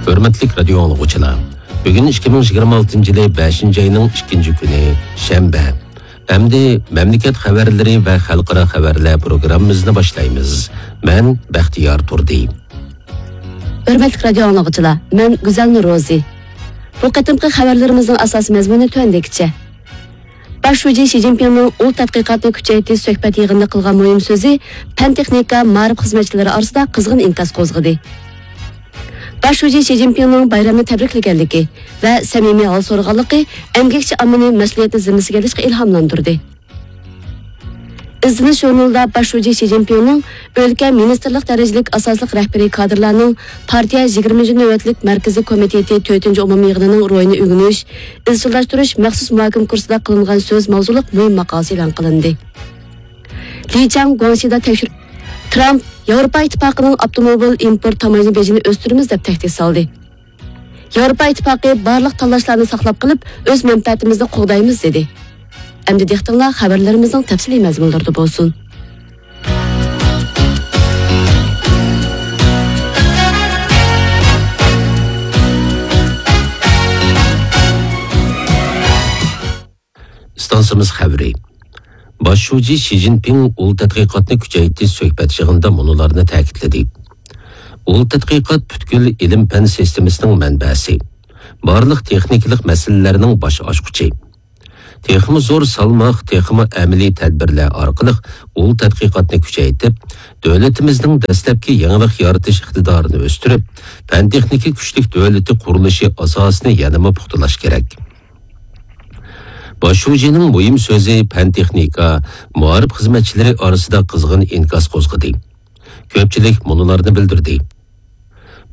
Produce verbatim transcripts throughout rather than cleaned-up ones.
ھۆرمەتلىك رادىيو ئاڭلىغۇچىلار، بۈگۈن ئىككى مىڭ يىگىرمە ئالتىنچى يىلى بەشىنچى ئاينىڭ ئىككىنچى كۈنى، شەنبە. ئەمدى مەملىكەت خەۋەرلىرى ۋە خەلقئارا خەۋەرلەر پروگراممىمىزنى باشلايمىز. مەن بەختىيار تۇردى. ھۆرمەتلىك رادىيو ئاڭلىغۇچىلار، مەن گۈزەل نۇرروزى. بۇ قېتىمقى خەۋەرلىرىمىزنىڭ ئاساسىي مەزمۇنى تۆۋەندىكىچە. باش شۇجى شى جىنپىڭنىڭ ئۇل تەتقىقاتنى كۈچەيتىش سۆھبەت يىغىنىدا قىلغان مۇھىم سۆزى پەن-تېخنىكا، مائارىپ خىزمەتچىلىرى ئارىسىدا قىزغىن ئىنكاس قوزغىدى. باش شۇجى شى جىنپىڭنىڭ بايرامنى تەبرىكلىگەنلىكى ۋە سەمىمىي ھال سورىغانلىقى ئەمگەكچى ئاممىنى مەسئۇلىيەتنى زىممىسىگە ئېلىشقا ئىلھاملاندۇردى. ئىزدىنىش ژۇرنىلىدا باش شۇجى شى جىنپىڭنىڭ ئۆلكە مىنىستىرلىق دەرىجىلىك ئاساسلىق رەھبىرىي كادىرلارنىڭ پارتىيە يىگىرمىنچى نۆۋەتلىك مەركىزىي كومىتېتى تۆتىنچى ئومۇمىي يىغىنىنىڭ روھىنى ئۆگىنىش، ئىزچىللاشتۇرۇش مەخسۇس مۇھاكىمە كۇرسىدا قىلىنغان سۆز ماۋزۇلۇق مۇھىم ماقالىسى ئېلان قىلىندى. لى چاڭ گۇاڭشىدا تەكشۈرۈپ، ترامپ ياۋروپا ئىتتىپاقىنىڭ ئاپتوموبىل ئىمپورت تاموژنا بېجىنى ئۆستۈرىمىز دەپ تەھدىت سالدى. ياۋروپا ئىتتىپاقى بارلىق تاللاشلارنى ساقلاپ قېلىپ، ئۆز مەنپەئەتىمىزنى قوغدايمىز، دېدى. ئەمدى دىققىتىڭلار خەۋەرلىرىمىزنىڭ تەپسىلىي مەزمۇنلىرىدا بولسۇن. ئىستانسىمىز خەۋىرى. باش شۇجى شى جىنپىڭ ئۇل تەتقىقاتنى كۈچەيتىش سۆھبەت يىغىنىدا مۇنۇلارنى تەكىتلىدى. ئۇل تەتقىقات پۈتكۈل ئىلىم-پەن سىستېمىسىنىڭ مەنبەسى، بارلىق تېخنىكىلىق مەسىلىلەرنىڭ باش ئاچقۇچى. تېخىمۇ زور سالماق، تېخىمۇ ئەمەلىي تەدبىرلەر ئارقىلىق ئۇل تەتقىقاتنى كۈچەيتىپ، دۆلىتىمىزنىڭ دەسلەپكى يېڭىلىق يارىتىش ئىقتىدارىنى ئۆستۈرۈپ، پەن-تېخنىكا كۈچلۈك دۆلىتى قۇرۇلۇشى ئاساسىنى يەنىمۇ پۇختىلاش كېرەك. باش شۇجىنىڭ مۇھىم سۆزى پەن-تېخنىكا، مائارىپ خىزمەتچىلىرى ئارىسىدا قىزغىن ئىنكاس قوزغىدى. كۆپچىلىك مۇنۇلارنى بىلدۈردى.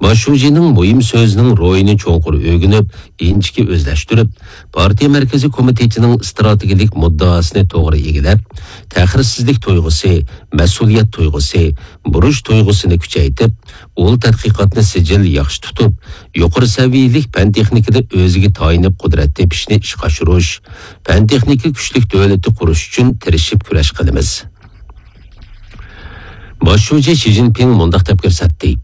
باش شۇجىنىڭ مۇھىم سۆزىنىڭ روھىنى چوڭقۇر ئۆگىنىپ، ئىنچىكە ئۆزلەشتۈرۈپ، پارتىيە مەركىزىي كومىتېتىنىڭ ئىستراتېگىيەلىك مۇددىئاسىنى توغرا ئىگىلەپ، تەخىرسىزلىك تۇيغۇسى، مەسئۇلىيەت تۇيغۇسى، بۇرچ تۇيغۇسىنى كۈچەيتىپ، ئۇل تەتقىقاتنى سىجىل ياخشى تۇتۇپ، يۇقىرى سەۋىيەلىك پەن-تېخنىكىدا ئۆزىگە تايىنىپ قۇدرەت تېپىشنى ئىشقا ئاشۇرۇش، پەن-تېخنىكا كۈچلۈك دۆلىتى قۇرۇش ئۈچۈن تىرىشىپ كۈرەش قىلىمىز. باش شۇجى شى جىنپىڭ مۇنداق دەپ كۆرسەتتى: